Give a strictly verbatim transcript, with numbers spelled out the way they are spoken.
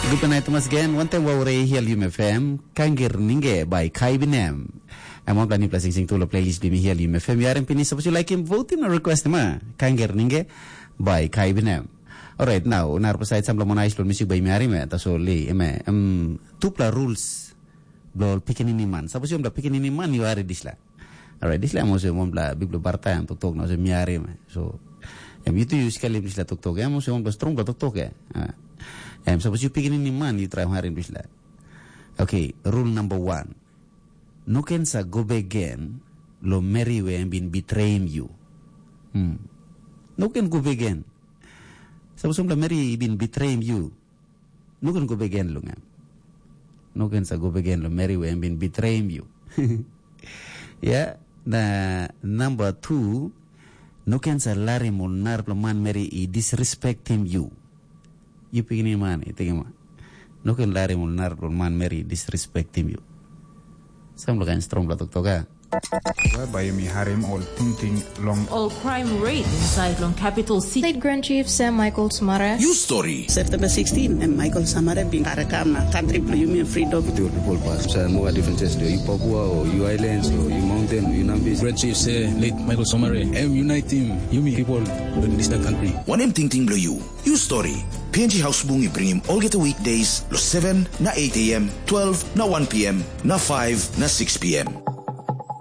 Gupta nait tumas gen, wantaim wau rei hial Yum F M, kangir ninge bai kai binem. Em wanpela nipla singsing tu lo playlist bimi hial Yum F M, yarim pinis, sapos yu laikim, votim na request ma, kangir ninge bai kai binem. Alright, now, narapla sait sampla monais lo musik bai miarim, eh, tasol li, eme, em, tupla rules blo pikinini man. Sapos yu ompela pikinini man, yu hari disla. Alright, disla em olsem wanpela bikpela barata em toktok na olsem mi harim. So, em yu tu yu skelim disla toktok, em olsem wanpela strongpela toktok ya. Ah. Em sapos yu pikinini man yu traim harim disla. Okay, rule number one. No ken sa go bek gen lo meri we em bin betrayim yu. Hmm. No ken go bek gen. Sapos wanpela meri i bin betrayim yu, no ken go bek gen long em. No ken sa go bek gen long meri we em bin betrayim yu. Ya, na namba tu, no ken sa larim ol narapela manmeri i disrespektim yu. Yu pikinini man, i tingim, no ken larim ol narapela manmeri i disrespektim yu. Sampela kain strongpela toktok, a? Whereby yumi harim ol tingting long All crime rate inside long capital city. State Grand Chief Sam Michael Smara. You story. September sixteen, em Michael Samare bin karakam na country bilong yumi freedom. With your people pass. So, no different test. You Papua or you islands or you mountain, you Nambis. Great Chief say late Michael Somare. Em unite him, yumi people in this country. Wanem tingting bilong you? You story. P N G House Bung i bringim olgeta weekdays lo seven na eight a m, twelve na one p m, na five na six p m.